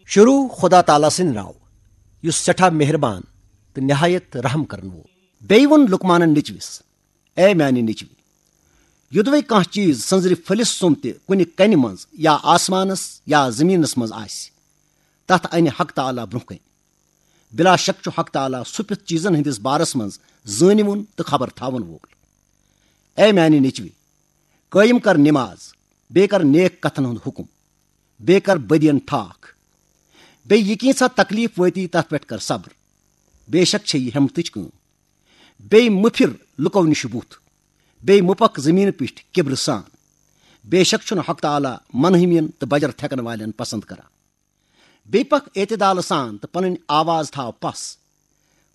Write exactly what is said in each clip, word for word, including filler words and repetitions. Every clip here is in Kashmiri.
شروع خدا تعالیٰ سٕنٛدِ ناوٕ، یُس سٮ۪ٹھاہ مہربان تہٕ نہایت رحم کرن وول۔ بیٚیہِ ووٚن لقمانن نیٚچوِس، اے میانہِ نیٚچوِ، یوٚدوَے کانٛہہ چیٖز سٔنٛزرِ پھٔلِس سُم تہِ کُنہِ کنہِ منٛز یا آسمانس یا زٔمیٖنس منٛز آسہِ، تتھ انہِ حق تعالیٰ برونٛہہ کنہِ۔ بلا شک چھُ حق تعالیٰ سُہ پِتھ چیٖزن ہٕنٛدِس بارس منٛز زٲنِوُن تہٕ خبر تھاون وول۔ اے میانہِ نیٚچوِ، قٲیِم کر نماز، بیٚیہِ کر نیک کتھن ہُنٛد حُکم، بیٚیہِ کر بدین ٹھاکھ۔ بیٚیہِ یہِ کینٛژھا تکلیف وٲتی، تتھ پٮ۪ٹھ کر صبر۔ بے شک چھےٚ یہِ ہٮ۪متٕچ کٲم۔ بیٚیہِ مہٕ پھِر لُکو نِش بُتھ، بیٚیہِ مہٕ پکھ زٔمیٖنہٕ پٮ۪ٹھ کِبرٕ سان۔ بے شک چھُنہٕ حق تعالیٰ منحومین تہٕ بجر تھٮ۪کن والٮ۪ن پسند کران۔ بیٚیہِ پکھ اعتدالہٕ سان تہٕ پنٕنۍ آواز تھاو پس۔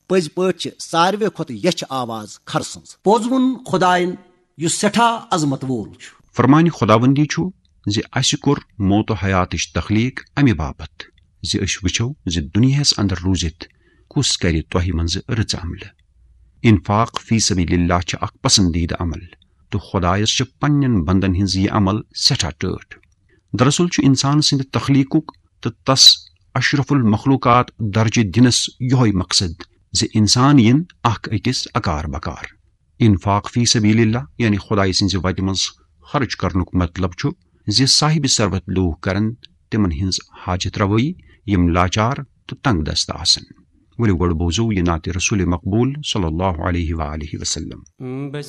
پٔزۍ پٲٹھۍ چھِ ساروے کھۄتہٕ یچھ آواز کھرٕ سٕنٛز۔ پوٚز ووٚن خدایَن، یُس سٮ۪ٹھاہ عظمت وول چھُ۔ فرمانِ خداوندی چھُ زِ اسہِ کوٚر موت و حیاتٕچ تخلیق امہِ باپتھ زِ أسۍ وٕچھو زِ دُنیاہس اندر روٗزِتھ کُس کرِ تۄہہِ منٛزٕ رٕژ عملہٕ۔ انفاق فی سبیل اللہ چھِ اکھ پسندیدٕ عمل تہٕ خدایس چھِ پننٮ۪ن بندن ہٕنٛز یہِ عمل سٮ۪ٹھاہ ٹٲٹھ۔ دراصل چھُ انسان سٕنٛدِ تخلیقُک تہٕ تس اشرف المخلوقات درجہٕ دِنس یۄہے مقصد زِ انسان یِن اکھ أکِس اکار بکار۔ انفاق فی سبیل اللہ یعنی خدایہِ سٕنٛزِ وتہِ منٛز خرٕچ کرنُک مطلب چھُ زِ صاحب ثروت لوٗکھ کرن تِمن ہٕنٛز حاجت روٲیی، یِم لاچار تہٕ تنگ دست آسن۔ ؤلِو گۄڈٕ بوزو یہِ نعتِ رسول مقبول صلی اللہ علیہ وآلہ وسلم۔ بس